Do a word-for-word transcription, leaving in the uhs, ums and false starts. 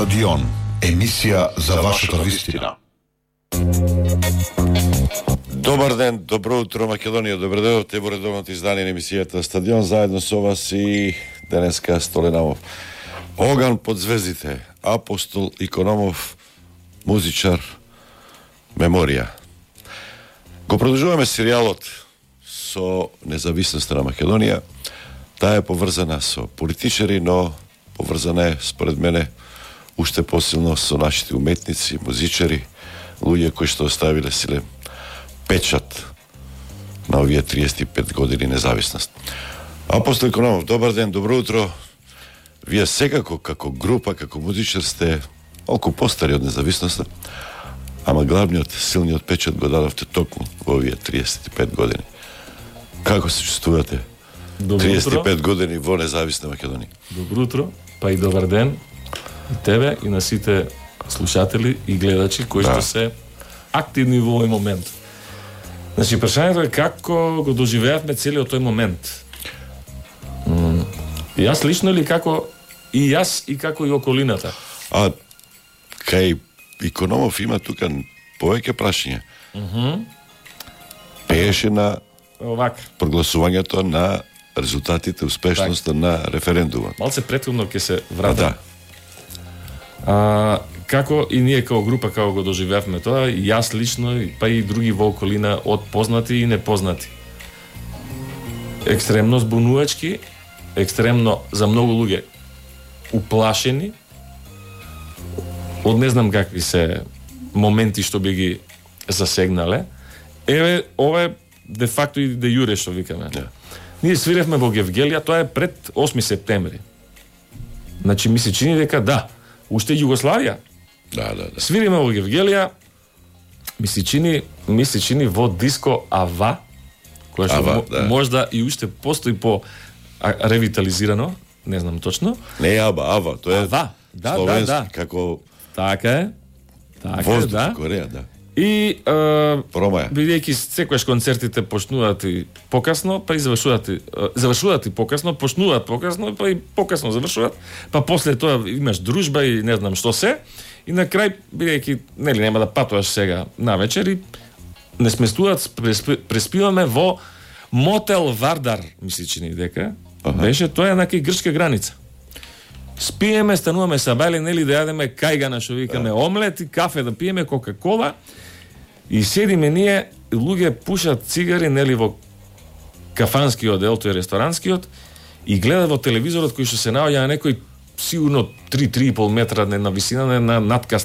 Стадион, емисија за вашата вистина. Добар ден, добро утро Македонија, добро дојдовте во редовното издание на емисијата Стадион, заедно со вас и денеска Столенамов. Оган под звездите, Апостол Икономов, музичар, меморија. Го продолжуваме серијалот со независноста на Македонија. Таа е поврзана со политичари, но поврзана е, според мене, уште посилно со нашите уметници, музичари, луѓе кои што оставиле силен печат на овие триесет и пет години независност. Апостол Икономов, добар ден, добро утро. Вие секако како група, како музичар сте малку постари од независноста, ама главниот, силниот печат го дадовте токму во овие триесет и пет години. Како се чувствувате? триесет и пет години во независна Македонија. Добро утро, па и добар ден и тебе и на сите слушатели и гледачи кои да. што се активни во овој момент. Значи, прашањето е како го доживеавме целиот тој момент. М- јас лично или како и јас и како и околината? А кај Икономов има тука повеќе прашања. Мхм. Пееше на Овак. прогласувањето на резултатите, успешноста так. на референдумот. Малце претходно ќе се вратам. Да. А, како и ние како група како го доживеавме тоа, и јас лично, па и други во околина од познати и непознати. Екстремно збунувачки, екстремно за многу луѓе уплашени, од не знам какви се моменти што би ги засегнале. Еве, ова е де факто и де јуре што викаме. Yeah. Ние свиревме во Гевгелија, тоа е пред осми септември. Значи ми се чини дека да, уште Југославија. Да, да, да. Свириме во Гевгелија, ми се чини, ми се чини во диско Ава, која што Ава, мо, да. можда и уште постои по а, ревитализирано, не знам точно. Не Аба, Ава, тоа е Ава, да, словенски, да, да. како Така е. Така воздух, е, да. Кореја, да. И е, Промаја. бидејќи секогаш концертите почнуваат и покасно, па и завршуваат и, е, завршуваат и покасно, почнуваат покасно, па и покасно завршуваат, па после тоа имаш дружба и не знам што се, и на крај, бидејќи нели нема да патуваш сега на вечер и не сместуваат, преспи, преспиваме во Мотел Вардар, ми се чини дека, Аха. беше тоа е на кај грчка граница. Спиеме, стануваме сабајле, нели да јадеме кајгана, што викаме, омлет и кафе да пиеме, кока-кола, и седиме ние, луѓе пушат цигари, нели во кафанскиот дел, тој ресторанскиот, и гледа во телевизорот кој што се наоѓа на некој сигурно три до три и пол метра на висина на надкасна